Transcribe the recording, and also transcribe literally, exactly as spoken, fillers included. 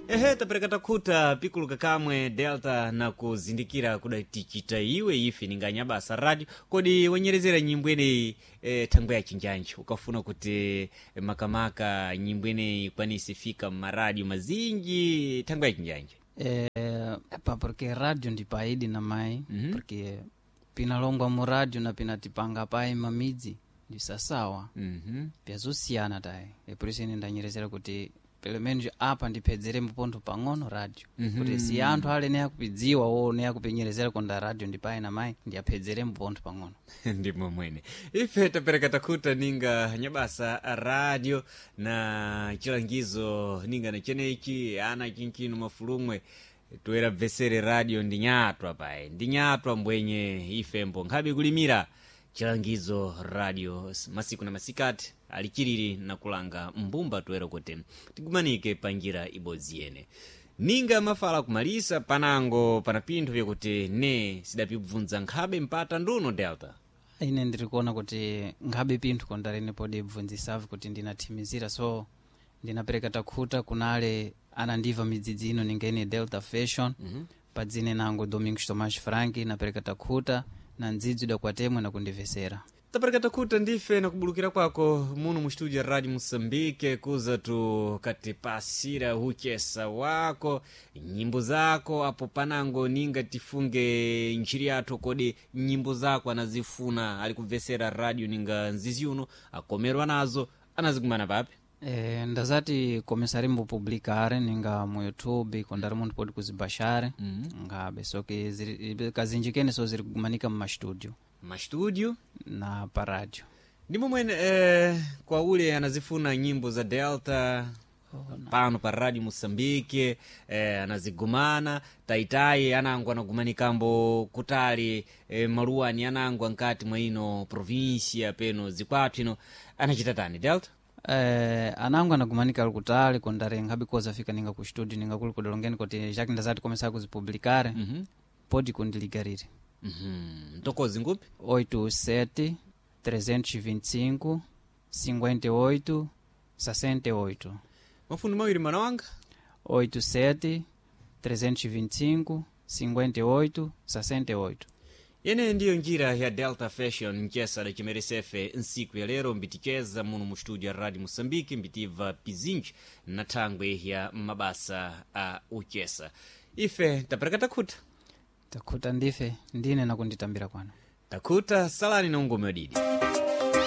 Ehe, tapereka takhuta pikuluka kamwe Delta na kuzindikira kuda tichita iwe ife ninganyabasa radio. Kodi wanyerezera nyimbo ineyi e, thangwe ya chinjanji ukafuna kuti eh, makamaka nyimbo ineyi ikwanise fika mmaradio mazinji thangwe ya chinjanji? Eh, pa porque radio ndi paidi na mai. Mhm. Porque pinalongwa mu radio na pinatipanga pai mamidzi ndi sasawa. mm Pyazosiyana tayi, e por isso ine ndanyerezera kuti pelo menos apa ndiphedzere mpontho pang'ono radio, Mhm. kuti si anthu ale ne akupidziwa wo ne akupinyerezera konda radio ndi pai na mai, ndiyaphedzere mpontho pang'ono. Ndimo mwene ife tapereka takhuta ninga nyabasa radio na chilangizo ninga na chenechi ana chinchino mafulumwe toera bvesere radio ndi nyatwa pae ndi nyatwa mbwenye ifembo nkhabe kulimira chilangizo radio masiku na masikati alichiriri na kulanga mbumba toera kuti tigumanike pa njira ibodzi yene ninga mafala kumalisa panango pana pinthu vyakuti ne sidapibvunza nkhabe mpata nduno, Delta. Ine ndiri kuona kuti nkhabe pinthu kondarene podi bvunzisavi kuti ndinathimizira, so ndinapereka takhuta kunale anandiva midzidzi ino ninga ine Delta Fashion. mm -hmm. Padzine nango Domingos Tomás Frank, napereka takhuta na ndzidzi idakwatemwe nakundivesera. Tapereka takhuta ndife nakubulukira kwako muno mu studio ya Radio Moçambique kuza tu katipasira huchesa wako nyimbo zako apo panango ninga tifunge ntchiri yathu. Kodi nyimbo zako anazifuna alikubvesera radio ninga nzizi uno akomerwa nazo anazikumana papi? E, ndazati começarembo publicar ninga mu YouTube kondari munthu podi kuzibashare. mm -hmm. Ngabe soke ziri- kazinji kene so ziri kugumanika mu mastudio. Mastudio. Na pa radio. Ndimo mwene eh, kwa ule anazifuna nyimbo za Delta pano pa Radio Moçambique eh, anazigumana taitai anango anagumanikambo kutali eh, maluwani anango ankati mwa ino provincia peno zikwathu ino anachita tani, Delta? Eh, anango anagumanika ali kutali kondari nkhabe koza fika ninga ku studio ninga kuli kudalongeni kuti jacques ndazati começar kuzipublicare. mm -hmm. Podi kundiligarire. mm -hmm. Ntokozi ngupi? oito sete trezentos e vinte e cinco cinquenta e oito sessenta e oito. Mafundo mawiri, mana wanga. oito sete trezentos e vinte e cinco cinquenta e oito sessenta e oito. Yene ndiyo njira ya Delta Fashion mchesa da chimeresefe nsiku ya lero mbiticheza muno mu studio ya Radio Moçambique mbitiva pizinji na thangwe ya mabasa a uchesa. Ife tapereka takhuta. Takhuta ndife ndine nakunditambira kwano. Takhuta, salani na ungome wadidi.